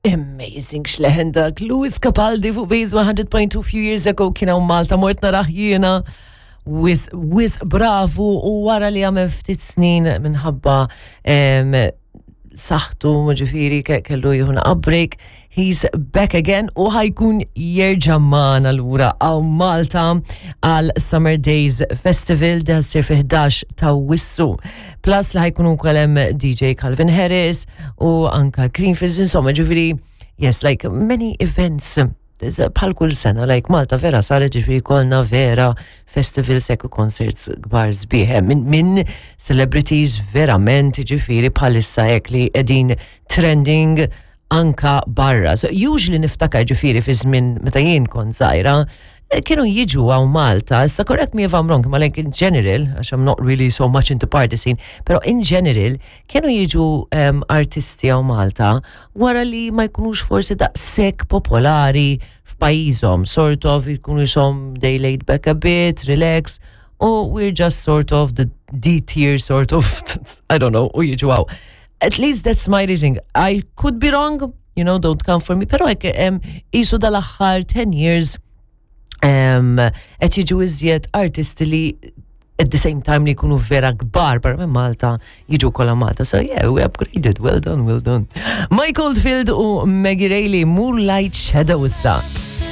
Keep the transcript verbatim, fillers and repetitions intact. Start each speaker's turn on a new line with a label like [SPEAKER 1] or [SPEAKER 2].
[SPEAKER 1] Amazing x'leħen dak. Lewis Capaldi fuq Base one hundred point two. Few years ago kien hawn Malta, mort narah jiena. Wisq, wisq bravu, u wara li għamel ftit snin minħabba em, saħħtu, ġifieri kellu jieħu break, he's back again u ħa jkun jerġa' magħna lura hawn Malta għal Summer Days Festival da ssir fi ħdax ta' Awwissu. Plus li ħa jkunu hemm D J Calvin Harris u anka Greenfields, insomma, ġifieri, yes, like many events bħal kull sena, like Malta vera saret, ġifieri kolna vera festivals u concerts kbar sbieħ, minn min celebrities verament, ġifieri bħalissa hekk li qegħdin trending anka barra. So usually niftakar, ġifieri fi żmien meta jien kont żgħira, eh, kienu jiġu hawn Malta, issa correct me if I'm wrong, ma like in general, għax I'm not really so much into party scene, pero in general, kienu jiġu um, artisti hawn Malta wara li ma jkunux forsi daqshekk popolari f'pajjiżhom, sort of jkunu jisom they laid back a bit, relax, u we're just sort of the D tier sort of, I don't know, u jiġu hawn. At least that's my reasoning. I could be wrong, you know, don't come for me, pero hekk um, qisu dal-aħħar ten years um, qed jiġu iżjed artisti li at the same time li jkunu vera kbar barra minn Malta jiġu kollha Malta. So yeah, we upgraded. Well done, well done. Mike Oldfield u Maggie Reilly, Moonlight Shadow issa.